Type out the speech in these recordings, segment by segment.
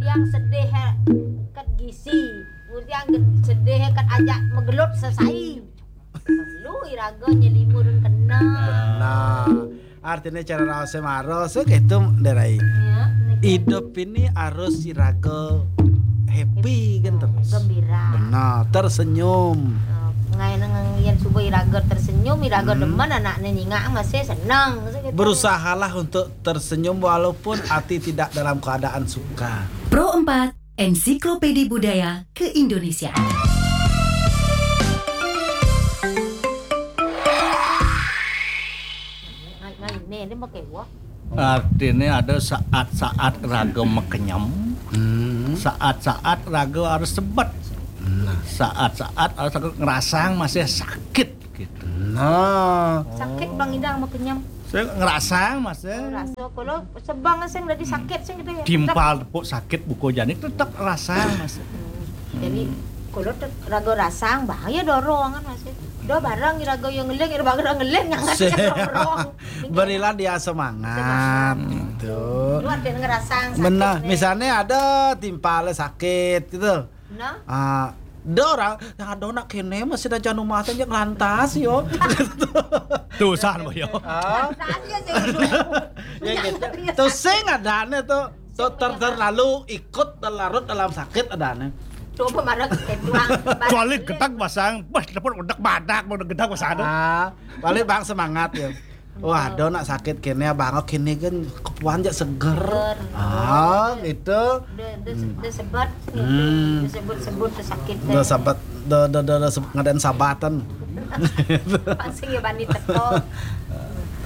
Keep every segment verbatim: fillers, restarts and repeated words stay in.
Yang sedih, eh, ket gisi. Murti yang sedih, eh, ket ajak megelut sesai. Lu iraga nyelimurun kena. Nah, artinya cara raos maro, so gitu, Derai. Ya, niki. Hidup ini harus iraga happy kan terus. Gembira. Benar, tersenyum. Eh, ngai nang yen suba iraga tersenyum, iraga demen, anaknya nyingak masih senang. So gitu. Berusahalah untuk tersenyum walaupun hati tidak dalam keadaan suka. Pro empat, Ensiklopedi Budaya Keindonesiaan. Ngai, ngai, ini, ini pakai gua. Artinya ada saat-saat raga makenyem, saat-saat raga harus sebet, saat-saat harus raga ngerasang masih sakit gitu. Nah. Sakit bang idang makenyem. Saya ngerasang masih. Rasa kalau sebang sing dadi sakit sing gitu ya. Timpal tepuk sakit buko jani tetap rasang masih. Hmm. Jadi kalau te-, raga rasang bahaya dorong kan masih. Do barang raga yang ngeling, raga ngeling yang ngerti dorong. Berilah dia semangat. Semangat. Gitu. Lu ada ngerasang sakit. Benar. Nih. Misalnya ada timpal sakit gitu. Nah. Ah, ada orang yang ada nak kene masih ada janu mata yang lantas yo. Tusan boyo. Ah. Lantas ya sih. Ya gitu. Tuh sing ada nih tuh. Tuh ter-, terlalu ikut terlarut dalam sakit ada nih. Coba marah ke tuang. Kecuali gedak pasang, pas telepon udah badak, udah gedak pasang. Ah, balik bang semangat ya. Wah, do nak sakit kene, abang kene kan kepuan jak seger. Seger. Ah, gitu. De, de, de sebet gitu. Hmm. De sebet-sebet de sakit de. De sebet, de, de, de, de sebet ngadain sabatan. Pasti ya bani teko.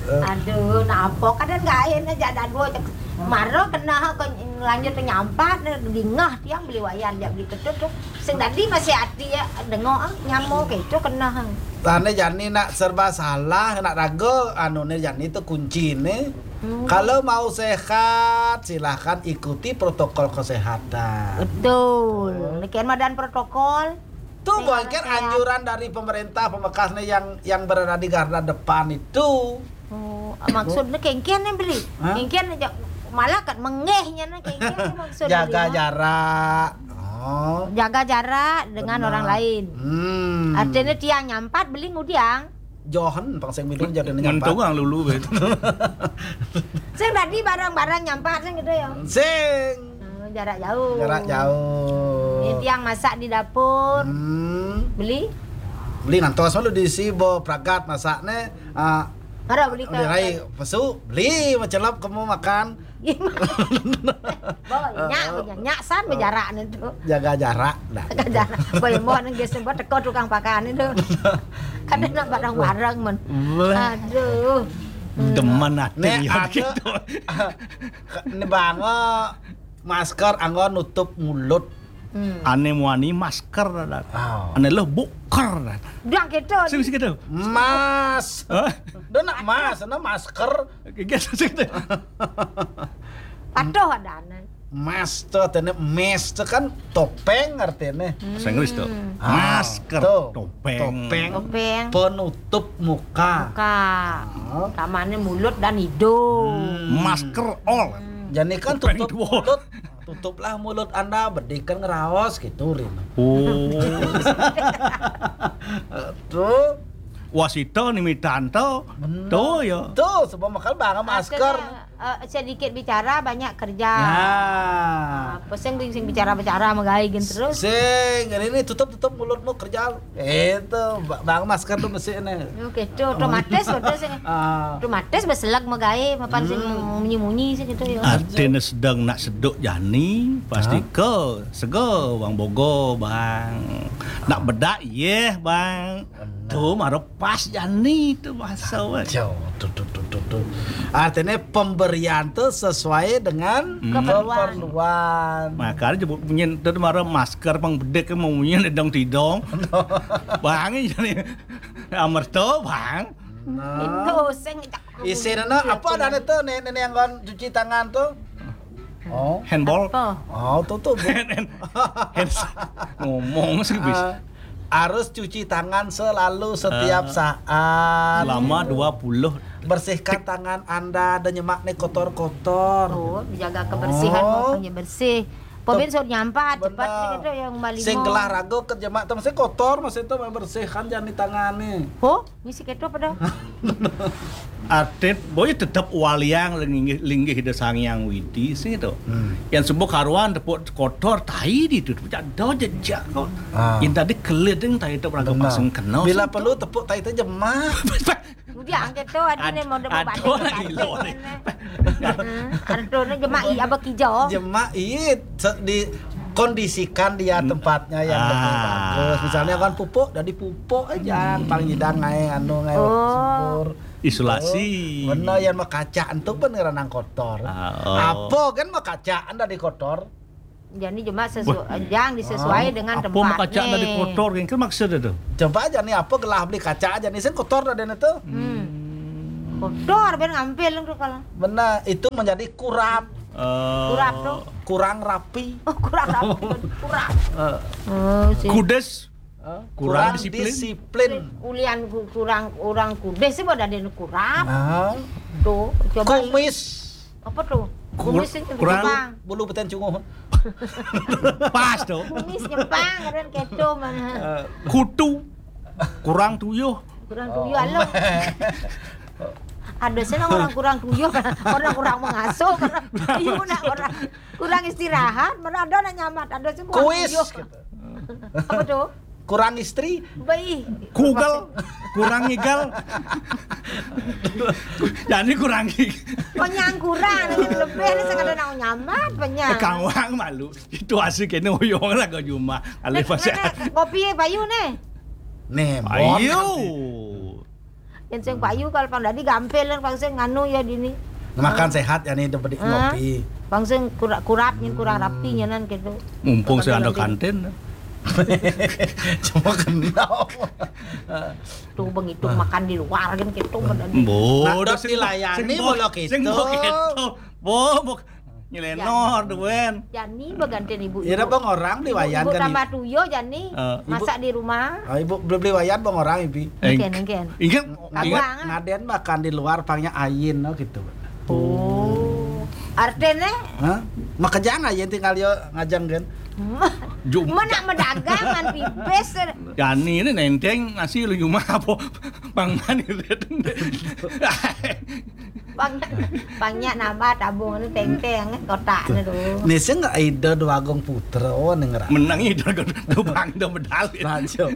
Aduh, napa kadang gaen aja ada dua cek. Maro kena ke lanjut nyampat, dingah tiang beli wayan dia beli ketut tuh. Sing tadi masih hati ya, dengo ah, nyamo gitu kena. Tane jani nak serba salah, nak raga, anu ne jani tu kunci ne. Hmm. Kalau mau sehat, silahkan ikuti protokol kesehatan. Betul. Nekian madan protokol. Tu mungkin anjuran dari pemerintah pemekas ne yang, yang berada di garda depan itu. Oh, maksudnya kengkian ne beli. Hah? Kengkian aja malah kan mengehnya ne kengkian ne maksudnya. Jaga jarak. Oh. Jaga jarak dengan orang lain. Hmm. Artinya tiang nyampat beli ngudiang. Johan pang sing minum jadi nyampat. Mentung lulu be. Sing tadi barang-barang nyampat sing gitu ya. Sing. Oh, jarak jauh. Jarak jauh. Ini tiang masak di dapur. Hmm. Beli? Beli ngantos malu di si bo pragat masak ne. Ah, ada beli ke rai pesu, beli macelap kamu makan. Bo, nyak, nyak san bejarak ne tu. Jaga jarak dah. Jaga jarak. Boy mo nang geus buat teko tukang pakan itu. Kadang nak bareng-bareng men. Aduh. Demen hati ya gitu. Ini bango masker anggo nutup mulut. Hmm. Ane muani masker dah. Oh. Ane lo buker dah. Dah gitu. Sing sing gitu. Mas. Hah? Dah nak mas, nak masker. Gitu sing gitu. Patuh ada ane. Mas tu artinya mes tu kan topeng artinya. Bahasa Inggris tu. Hmm. Ah, masker, tu. Topeng. Topeng. Topeng. Penutup muka. Muka. Ah. Kamane mulut dan hidung. Hmm. Masker all. Hmm. Jadi kan topeng tutup dua. Mulut. Tutuplah mulut Anda, bedikan ngeraos gitu, Rin. Oh. Tuh. Wasita nimitan to. Bener. Tuh ya. Tuh, sebab makan banget masker. Artinya, eh, sedikit bicara, banyak kerja. Ya. Ah, pesing sing bicara-bicara magaé gin terus. Sing, ini tutup-tutup mulutmu kerja. Itu, ba-, bang masker tuh mesti ini. Oke, tuh otomatis betul sih. Ah. Otomatis beselag magaé, mapan sing munyi-munyi sih gitu ya. Artinya sedang nak seduk jani, pasti ke sego bang bogo bang. Nak bedak yeh bang. Tuh maro pas jani tuh bahasa weh. Tuh, tuh, tuh, tuh, tuh. Artinya pemberian tuh sesuai dengan keperluan. Keperluan. Makanya jebuk punyin tuh maro masker pang bedek mau punyin dong tidong. Bang ini jadi amerto bang. Nah. Itu sing isine apa ada tuh nih, nih yang kan cuci tangan tuh. Oh. Handball. Apa? Oh, tuh tuh. Hand, hand, hand, ngomong sih bis. Ah, harus cuci tangan selalu setiap saat. Selama dua puluh. Bersihkan tangan Anda dan nyemak nih kotor-kotor. Oh, jaga kebersihan, oh, pokoknya bersih. Pabén sot nyampah, cepat sing itu yang malimo. Sing gelah raga ké jemak to, masih kotor, masih to bersihkan jani tangané. Ho, ngisi kéto pada. Atit, boy tetep waliang linggih, linggih Ida Sang Hyang Widi sing to. Hmm. Yang sembuh karuan tepuk kotor tai di itu, tepuk do jejak kok. Ah. Yang tadi keliding tai itu raga pasang kena. Bila perlu tepuk tai itu jemak. Udah angkat to, adi né mau ada lagi lo né. Artone jemak i apa kijo? Jemak i, dikondisikan dia tempatnya yang lebih bagus. Misalnya kan pupuk, jadi pupuk aja, paling tidak ngai anu ngai subur. Isolasi. Bener, yang makaca entu pun ranang kotor. Apa kan makaca anda di kotor? Jani jemak sesuai, jang disesuai dengan tempatnya. Apa makaca anda di kotor, kan maksud itu? Coba jani apa gelah beli kaca jani sing kotor dah itu. Hmm. Kotor ben ngampil tuh kalau. Benar, itu menjadi kurap. Kurap tuh. Kurang rapi. Oh, kurang rapi, kurap. Kudes. Kurang disiplin. Ulian kurang, orang kudes sih pada ada kurap. Tuh, coba. Kumis. Apa tuh? Kumis itu kurang. Bulu beten cunguh. Pas tuh. Kumis nyempang, kadang keto mana. Kutu. Kurang tuyuh. Kurang tuyuh, alo. Ada senang orang kurang tuyuh, orang kurang mengasuh, orang tuyuh nak orang kurang istirahat, mana ada nak nyamat, ada sih kurang tuyuh. Kuis. Apa tuh? Kurang istri. Baik. Kugel. Kurang ngigel. Jani kurang ngigel. Penyang kurang, lebih ada sekadar nak nyamat, penyang. Kang Wang malu. Itu asik ini uyong lah kau cuma. Alih pasal. Kopi payu nih. Nih, ayo. Yang sing payu kalau pang dadi gampil kan pang sing nganu ya dini. Makan sehat ya nih, bedik ngopi. Pang sing kurap, kurap nih, kurang rapi nyanan gitu. Mumpung sing ada kantin. Cuma kenal. Tuh begitu makan di luar kan gitu. Bodoh sing dilayani bola gitu. Bo, bo, Nyelenor tuh, Wen. Jani begantian ibu. Ya, ibu. Bang orang di wayan ibu kan, tambah tuyo, Jani. Masak di rumah. Ah, ibu beli beli wayan bang orang, ibu. Engken, engken. Engken. Ngaden makan di luar, pangnya ayin, no, gitu. Oh. Artinya? Hah? Makejang ayin tinggal yo ngajang kan. Mana medagang kan pipis. Jani ini nenteng nasi lu cuma apa? Bang mani. Pang, pangnya nambah tabung anu teng-teng kotak anu tuh. Nih sing Ida Dwagung Putra ning ra. Menang Ida Dwagung Putra bang do medal. Rajo.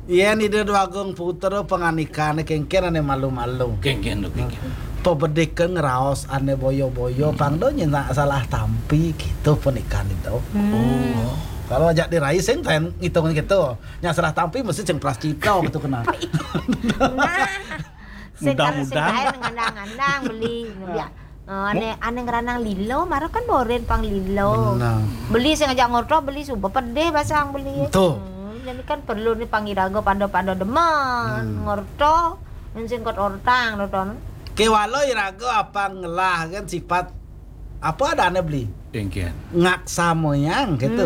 Yen Ida Dwagung Putra panganikané kéngkén ané malu-malu. Kéngkén tuh kéngkén. Pebedikén ngraos ané boyo-boyo pang do nyenak salah tampi gitu pernikahan itu. Oh. Kalau ajak dirai sing ten ngitung gitu. Nya salah tampi mesti sing prascita gitu kena. Nah. Mudah-mudahan. Sing kaé ngandang-ngandang beli. Ya. Ané, ané ngranang lilo, mara kan boren pang lilo. Bener. Beli sing ajak ngorto, beli suba pedih basang beli. Tuh. Jadi kan perlu nih pang iraga pada-pada demen ngorto, men sing kot ortang to, Ton. Kéwala iraga apa ngelah kan sifat apa adané beli? Kéngkén. Ngaksa moyang gitu.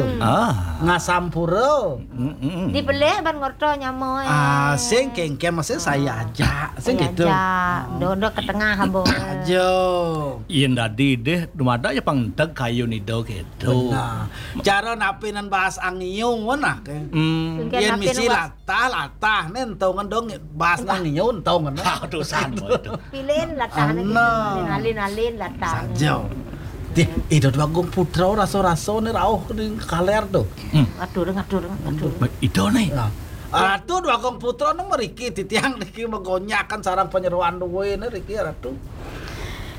Ngasampura. Dipelih ban ngorto nyamoé. Ah, sing kéngkén maksudnya saya aja, sing gitu. Dodo ke tengah abo. Ajo. Yén dadi deh, dumada ya pang enteg kayun Ida gitu. Benar. Cara napinan bahas angiung wenah ke. Yén misi latah, latah nen tau ngendong bahas angiung tau ngendong. Utusan itu. Pilih latah nen. Alin-alin latah. Saja. Dih, Ida Dwagung Putra rasa-rasa nih rauh ning kaler tuh. Atur, atur, atur. Ida nih. Ratu Dwagung Putra nih mriki titiang niki megonyakan sarang penyeruan duwe nih riki Ratu.